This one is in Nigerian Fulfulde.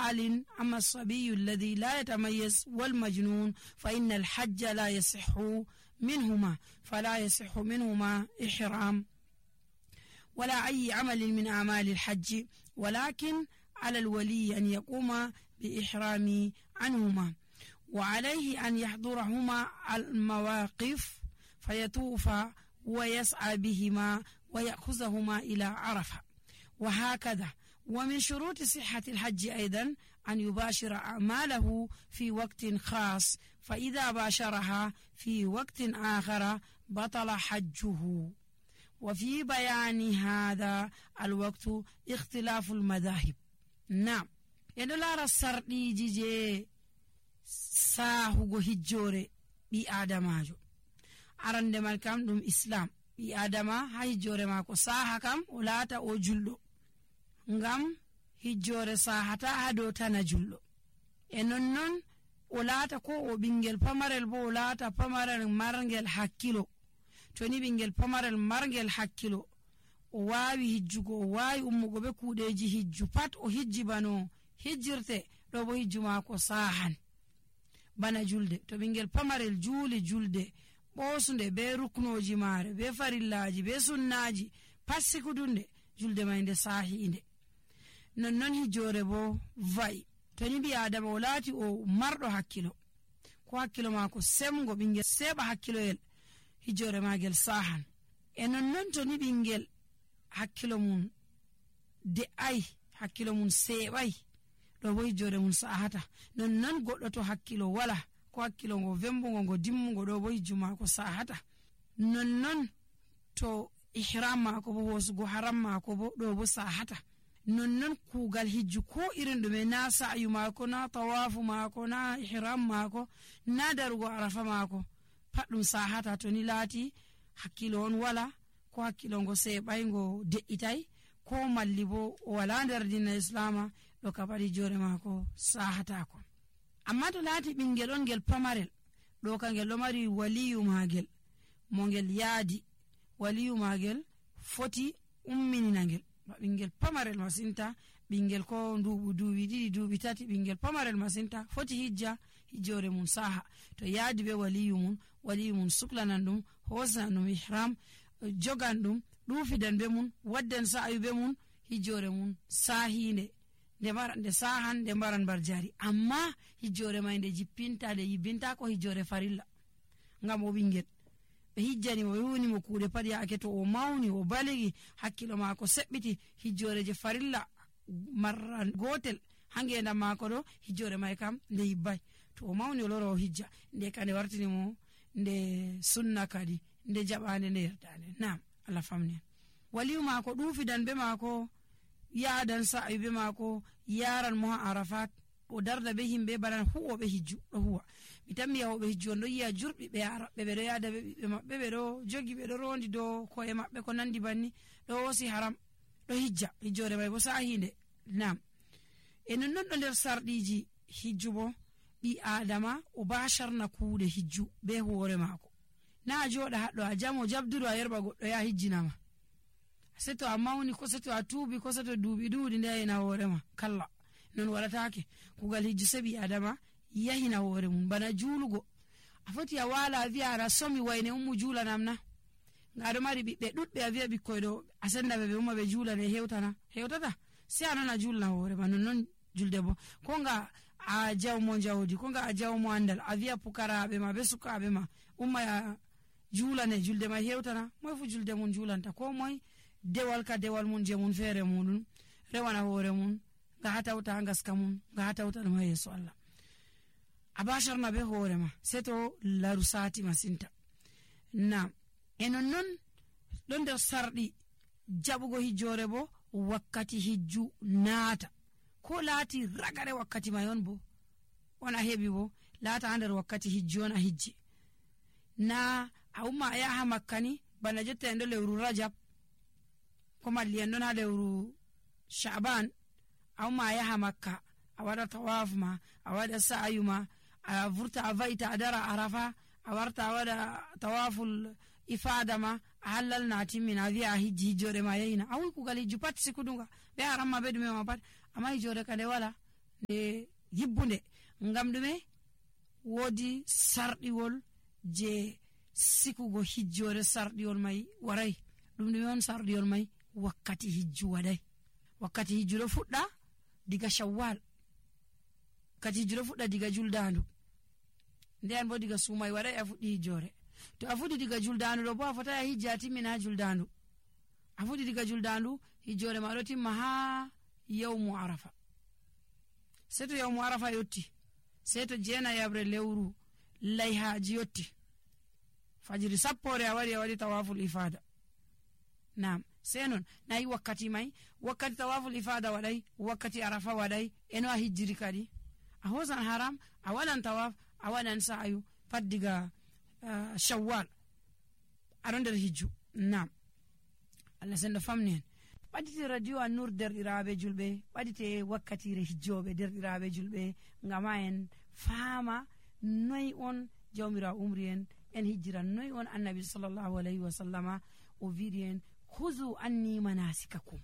سؤال: أما الصبي الذي لا يتميز والمجنون فإن الحج لا يصح منهما، فلا يصح منهما إحرام ولا أي عمل من أعمال الحج، ولكن على الولي أن يقوم بإحرام عنهما، وعليه أن يحضرهما المواقف فيطوف ويسعى بهما ويأخذهما إلى عرفة، وهكذا. ومن شروط صحة الحج أيضا أن يباشر أعماله في وقت خاص، فإذا باشرها في وقت آخر بطل حجه. وفي بيان هذا الوقت اختلاف المذاهب. نعم، يدلار السردي جي ساهو هجوري بي آدماجو arande man kam ɗum islam ɓi adama ha hijjore mako saha kam o laata o julɗo, ngam hijjore sahata ha dow tana julɗo. E nonnon o laata ko o ɓingel pamarel bo o laata pamarel marngel hakkilo. To ni ɓingel pamarel marngel hakkilo o wawi hijjugo, o wawi ummugo be kuuɗeji hijju pat, o hijji bano hijjirte ɗo bo hijju mako sahan bana julde. To ɓingel pamarel juuli julde ɓosunde be ruknoji maare be farillaji be sunnaji pat sikudunde, julde may nde sahinde. Nonnon hijjore bo va'i. To ni ɓi adama o laati o marɗo hakkilo, ko hakkilo mako semgo, ɓingel seɓa hakkiloyel, hijjore magel sahan. E nonnon to ni ɓingel hakkilo mum de'ai, hakkilo mum seɓai, ɗo bo hijjore mum sahata. Nonnon goɗɗo to hakkilo wala, ko hakkilo ngo vembugo ngo dimmugo, ɗo bo hijju mako sahata. Nonnon to ihram mako bo hosugo haram mako bo ɗo bo sahata. Nonnon kugal hijju ko irin ɗume, na sa'yu mako, na tawafu mako, na ihram mako, na darugo arafa mako, pat ɗum sahata to ni laati hakkilo on wala, ko hakkilo ngo seɓai ngo de'itai, ko malli bo o wala nder dina islama, ɗo kapat hijjore mako sahatako. Amma to laati ɓingel on ngel pamarel, ɗo ka ngel ɗo mari waliyu magel mo ngel yaadi, waliyu magel foti umminina ngel. Ɓingel pamarel masinta, ɓingel ko nduɓu duuɓi ɗiɗi duuɓi tati, ɓingel pamarel masinta foti hijja, hijjore mum saha. To yaadi be waliyu mum suklanan ɗum, hosanan ɗum ihram, jogan ɗum, ɗufidan be mum, waddan sa'ayu be mum, hijjore mum sahinde. nde sahan nde mbaran bar jari. Amma hijjore may nde jippinta, nde yibbinta ko hijjore farilla, ngam o ɓingel ɓe hijjani mo, yuni mo kuuɗe pat yaake to o mawni o baligi, hakkilo maako seɓɓiti, hijjore je farilla marra gotel ha ngendam maako ɗo, hijjore may kam nde yibbay. To o mawni o lora o hijja, nde ka nde wartini mo nde sunna kadi, nde jaɓande nde yerdande. Nam, Allah famni. Waliyu maako ɗufidan be maako, yaadan sa'ayu be maako, yaran mo ha arafat, o darda be himɓe banan huwoɓe hijju ɗo huwa. Mi tammi yahoɓe hijju on ɗo yiya jurɓi ɓe araɓɓe, ɓeɗo yaada be ɓiɓɓe maɓɓe, ɓeɗo jogi, ɓeɗo rondi dow koye maɓɓe ko nandi banni, ɗo wosi haram, ɗo hijja, hijjore may bo sahinde. Nam, e nonnon ɗo nder sarɗiji hijju bo, ɓi adama o basharna kuuɗe hijju be hoore maako. Na a joɗa haɗɗo a jamo jabduɗo a yerɓa goɗɗo ya hijjinama, seto a mawni, ko seto a tuubi, ko seto duuɓi ɗuuɗi nde yahina hoorema, kalla, non waɗatake. kugal hijju seɓi adama yahina hoore mum. Bana juulugo, a foti a wala a wiya ara somi wayne ummu juulanam na, nga aɗo mari ɓiɓɓe ɗuɗɓe, a wiya ɓikkoy ɗo a sendaɓe ɓe umma ɓe juulane, hewtata, sai a nana juulana hoorema. Nonnon julde bo, ko nga a jawmo jawdi, ko nga a jawmo andal, a wiya pukaraɓe ma be sukaɓe ma umma ya juulane, julde ma hewtana. Moy fu julde mum juulanta, ko moy dewal ka dewal mun je mun feere muɗum rewana hoore mun, nga hatawta ngaska mun, nga hatawta ɗum ha yeeso Allah. A basharna be hoore ma seto laru sati masinta. Nam, e nonnon ɗon nder sarɗi jaɓugo hijjore bo, wakkati hijju naata, ko laati ragare wakkati may on bo on a heɓi bo, laata ha nder wakkati hijju on a hijji. Na a umma a yaha makka ni, bana jotta en ɗo lewru rajab, ko malli en ɗon ha lewru sha'ban, a umma a yaha makka, a waɗa tawaf ma, a waɗa sa'ayu ma, a vurta a va'ita a dara arafa, a warta a waɗa tawaful ifada ma, a hallal na timmina, a wiya a hijji, hijjore ma yahina. A wi kugal hijju pat sikudunga be haram ma be ɗume ma pat, amma hijjore ka nde wala, nde yibbunde. Ngam ɗume? Woodi sarɗiwol je sikugo hijjore. Sarɗiwol mai warai. Ɗum ɗume on sarɗiwol mai? Wakkati hijju waɗai. Wakkati hijju ɗo fuɗɗa diga Shawwal. Wakkati hijju ɗo fuɗɗa diga juldandu. Nden bo diga sumai waɗai a fuɗɗi hijjore. To a fuɗɗi diga juldandu ɗo bo a fotai a hijja a timmina ha juldandu. A fuɗɗi diga juldandu hijjore ma ɗo timma ha yawmu Arafa. Sai to yawmu Arafa yotti, sai to jena yabre lewru layhaji yotti, fajiri sappore a waɗi tawaful ifada. Naam, sai non nayi wakkati mai, wakkati tawaful ifada waɗai, wakkati Arafa waɗai, eno a hijjiri kadi a hosan haram, a waɗan tawaf, a waɗan sa'ayu pat diga Shawwal aɗon nder hijju. Naam, Allah sendo famni en. ɓadite radio An-Nur derɗiraɓe julɓe, ɓadite wakkatire hijjoɓe derɗiraɓe julɓe, ngam ha en faama noy on jawmirawo umri en hijjira, noy on annabi sallallahu alayhi wa sallama o wiɗi en huzu anni manasikakum.